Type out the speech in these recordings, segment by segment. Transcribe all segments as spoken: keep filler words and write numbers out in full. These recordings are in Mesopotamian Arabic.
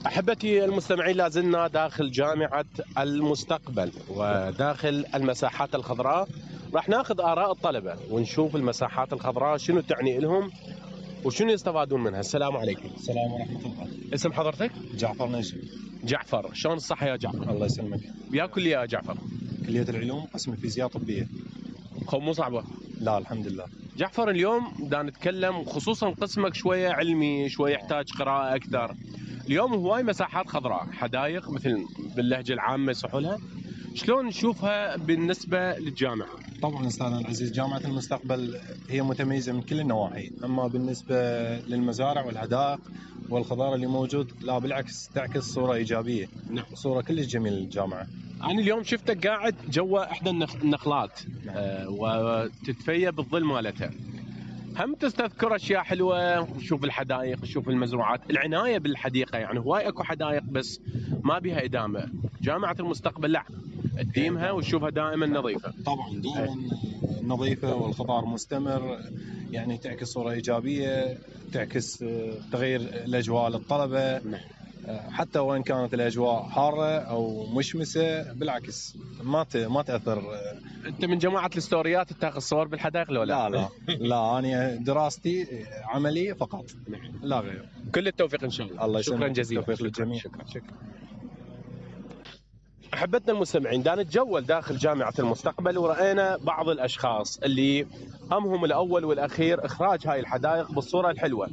أحبتي المستمعين، لازلنا داخل جامعة المستقبل وداخل المساحات الخضراء. راح ناخذ آراء الطلبة ونشوف المساحات الخضراء شنو تعني لهم وشنو يستفادون منها. السلام عليكم. السلام ورحمة الله. اسم حضرتك؟ جعفر نجم. جعفر، شلون الصحة يا جعفر؟ الله يسلمك. ويا كلية يا جعفر؟ كلية العلوم، قسم الفيزياء طبية. خو مو صعبة؟ لا الحمد لله. جعفر، اليوم دا نتكلم خصوصا قسمك شوية علمي، شوية يحتاج قراءة أكثر. اليوم هواي مساحات خضراء، حدائق مثل باللهجة العامة يصحوا لها، شلون نشوفها بالنسبة للجامعة؟ طبعا أستاذنا العزيز، جامعة المستقبل هي متميزة من كل النواحي، أما بالنسبة للمزارع والحدائق والخضار اللي موجود لا بالعكس تعكس صورة إيجابية. نعم. صورة كلش جميلة للجامعة. أنا اليوم شفتك قاعد جوا إحدى النخلات. نعم. آه وتتفيأ بالظل مالتها. هم تستذكر اشياء حلوه، تشوف الحدائق، تشوف المزروعات، العنايه بالحديقه. يعني هواي اكو حدائق بس ما بها ادامه. جامعه المستقبل لا تديمها وتشوفها دائما نظيفه. طبعا دائما نظيفه والخضار مستمر، يعني تعكس صوره ايجابيه، تعكس تغيير الاجواء للطلبه. حتى وان كانت الاجواء حاره او مشمسه بالعكس ما ما تاثر. انت من جماعه الستوريات تاخذ صور بالحدائق لو لا؟ لا لا لا انا دراستي عمليه فقط لا غير. كل التوفيق ان شاء الله. الله شكرا جزيلا. التوفيق للجميع. شكرا شكرا. احبتنا المستمعين، دا نتجول داخل جامعه المستقبل ورأينا بعض الاشخاص اللي همهم الاول والاخير اخراج هاي الحدائق بالصوره الحلوه.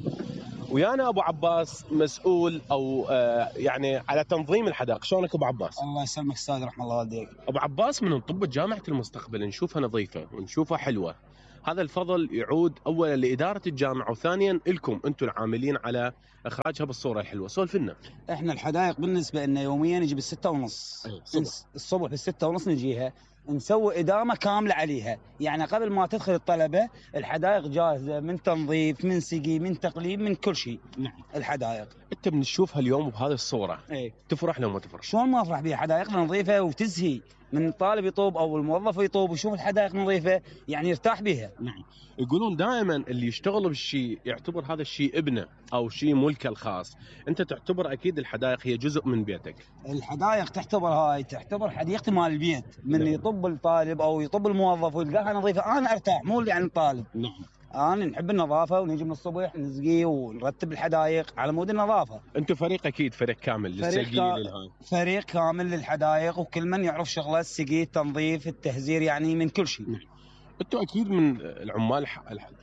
ويانا ابو عباس مسؤول او آه يعني على تنظيم الحدائق. شلونك ابو عباس؟ الله يسلمك استاذ، رحم الله والديك. ابو عباس، من نطب جامعه المستقبل نشوفها نظيفه ونشوفها حلوه، هذا الفضل يعود اولا لاداره الجامعه وثانيا لكم انتم العاملين على اخراجها بالصوره الحلوه. سولف لنا. احنا الحدائق بالنسبه لنا يوميا نجي بالستة ونص. أيوة الصبح. الصبح بالستة ونص نجيها، نسوي إدامة كاملة عليها. يعني قبل ما تدخل الطلبة الحدائق جاهزة، من تنظيف، من سقي، من تقليب، من كل شيء. نعم. الحدائق انت بنشوفها اليوم بهذه الصوره، ايه تفرح لو ما تفرح؟ شلون ما افرح بها؟ حدائقنا نظيفة وتزهي من الطالب يطوب او الموظف يطوب ويشوف الحدائق نظيفة، يعني يرتاح بها. نعم. يقولون دائما اللي يشتغل بالشيء يعتبر هذا الشيء ابنه او شيء ملكه الخاص. انت تعتبر اكيد الحدائق هي جزء من بيتك. الحدائق تعتبر هاي تعتبر حديقتي مال البيت. من نعم. يطب الطالب او يطب الموظف ويلقاها نظيفة انا ارتاح، مو يعني الطالب. نعم. انا نحب النظافه ونجي من الصبح نسقي ونرتب الحدائق على مود النظافه. انتم فريق اكيد، فريق كامل للسقي للهاي. فريق كامل للحدائق وكل من يعرف شغله، السقي، التنظيف، التهزير، يعني من كل شيء. نعم. انتم اكيد من العمال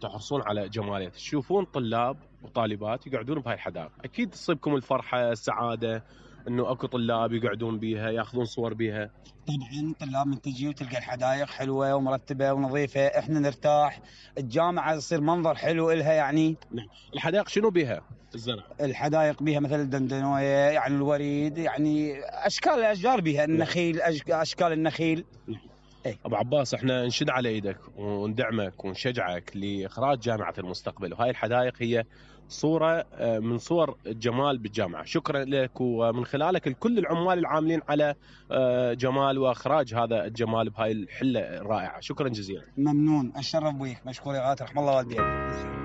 تحرصون على جماليه، تشوفون طلاب وطالبات يقعدون بهاي الحدائق، اكيد تصيبكم الفرحه السعاده انه اكو طلاب يقعدون بيها ياخذون صور بيها. طبعا طلاب من تجي وتلقى الحدائق حلوه ومرتبه ونظيفه، احنا نرتاح، الجامعه يصير منظر حلو إلها يعني. نعم. الحدائق شنو بيها؟ الزرع. الحدائق بيها مثل الدندنويه، يعني الوريد، يعني اشكال الاشجار بيها، النخيل، اشكال النخيل. نعم. ايه. ابو عباس، احنا نشد على ايدك وندعمك ونشجعك لاخراج جامعه المستقبل، وهاي الحدائق هي صوره من صور الجمال بالجامعه. شكرا لك ومن خلالك لكل العمال العاملين على جمال واخراج هذا الجمال بهاي الحله الرائعه. شكرا جزيلا. ممنون، اتشرف بيك، مشكور يا غاتر، رحم الله والديك.